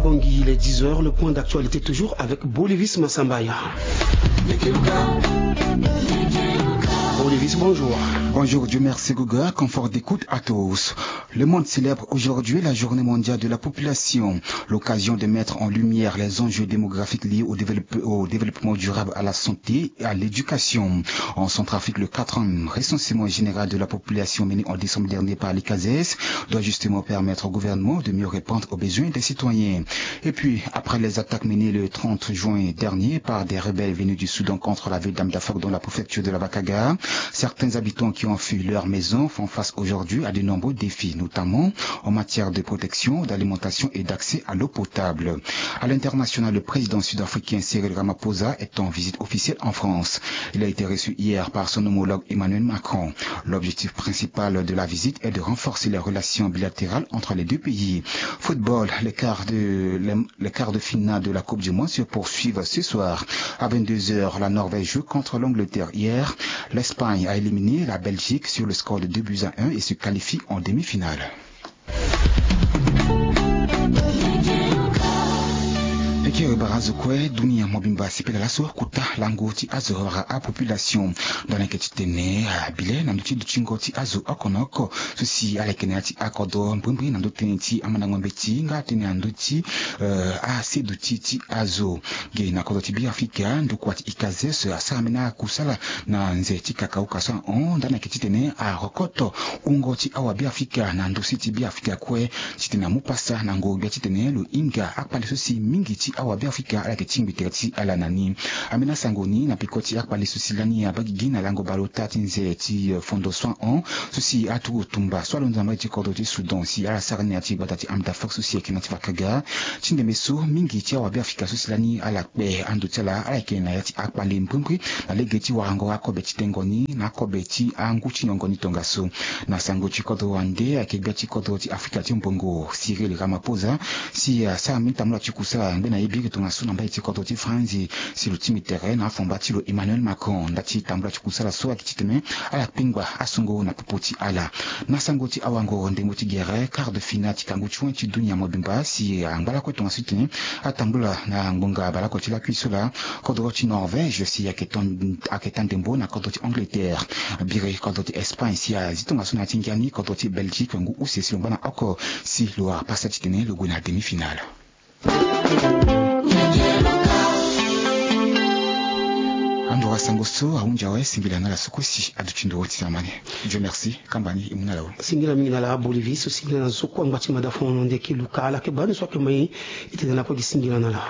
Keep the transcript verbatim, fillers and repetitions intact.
Bangui, il est dix heures, le point d'actualité toujours avec Bolivis Massambaya. Bolivis, bonjour. Bonjour, Dieu merci, Guga. Confort d'écoute à tous. Le monde célèbre aujourd'hui la journée mondiale de la population, l'occasion de mettre en lumière les enjeux démographiques liés au développe-, au développement durable, à la santé et à l'éducation. En Centrafrique, le quatrième recensement général de la population mené en décembre dernier par l'ICASES doit justement permettre au gouvernement de mieux répondre aux besoins des citoyens. Et puis, après les attaques menées le trente juin dernier par des rebelles venus du Soudan contre la ville d'Amdafok dans la préfecture de la Bakaga, certains habitants qui ont fui leur maison font face aujourd'hui à de nombreux défis, notamment en matière de protection, d'alimentation et d'accès à l'eau potable. À l'international, le président sud-africain Cyril Ramaphosa est en visite officielle en France. Il a été reçu hier par son homologue Emmanuel Macron. L'objectif principal de la visite est de renforcer les relations bilatérales entre les deux pays. Football, les quarts de, les, les quarts de finale de la Coupe du Monde se poursuivent ce soir. À vingt-deux heures, la Norvège joue contre l'Angleterre. Hier, l'Espagne a éliminé la Belgique sur le score de deux buts à un et se qualifie en demi-finale. Eke bara azo kue, dunia mobimba asepela laso kota lango ti azo wala apopulation. Ndani ayeke titene abile na ndö ti dutingo ti azo oko na oko so si ala yeke na ya ti akodro mbrimbri na ndö tënë ti amandango mbeti nga tënë na ndö ti, eh, aseduti ti azo. Ge na kodro ti Beafrika, ndokua ti ICASES asara mbeni akusala na nze ti kakauka so ahon ndani ayeke titene arokoto wungo ti awa Beafrika na ndusi ti Beafrika kue, titene amu pasa na ngoro gbia titene lo hinga akpale so si mingi ti awa Beafrika ala yeke tingbi tere ti ala na ni. Ambeni asango ni na peko ti akpale so si lani abaa gigi na lango bale ota ti nze ti, eh, fondo so ahon so si aturugu tumba so alondo na mbage ti kodro ti Soudan si ala sara ni na ya ti gbata ti Amdafok so si ayeke na ya ti Bakaga. Ti ndembe so mingi ti awa Beafrika so si lani ala kpe ando ti ala, ala yeke na ya ti akpale mbrimbri na lege ti warango akobe ti tengo ni na akobe ti angu ti nyongo ni tongaso. Na sango ti kodro wande ayeke gbia ti kodro ti Afrika ti mbongo Cyril Ramaphosa si asara mbeni tambula ti kusala ngbene ye biri tongaso na mbage ti kodro ti Franzi si lo tingbi tere na afomba ti lo Emmanuel Macron. Nda ti tambula ti kusala so ayeke titene ala kpengba asongo na popo ti ala. Na sango ti awango ndembo ti gere, quart de finale ti kangu ti wen ti dunia mobimba si angba lakue tongaso titene atambula na ngbonga bale oko ti lakui so laa. Kodro ti Norvège si ayeke ton-, ayeke taa ndembo na kodro ti Angleterre. Biri kodro ti Espagne si azi tongaso na ya ti ngia ni kodro ti Belgique ngu use si lo ngba na oko si lo wara pasa titene lo gue na demi-finale. Ando wa sango so ahunzi awe, singila na ala so kue si aduti ndo ti zamani. Dieu merci, kamba ni e mu na ala we. Singila mingi na ala Bolivis, singila na zo kue angba ti mada fono nde ki luka ala ke bani so ayeke mai e tene na kue gi singila na ala.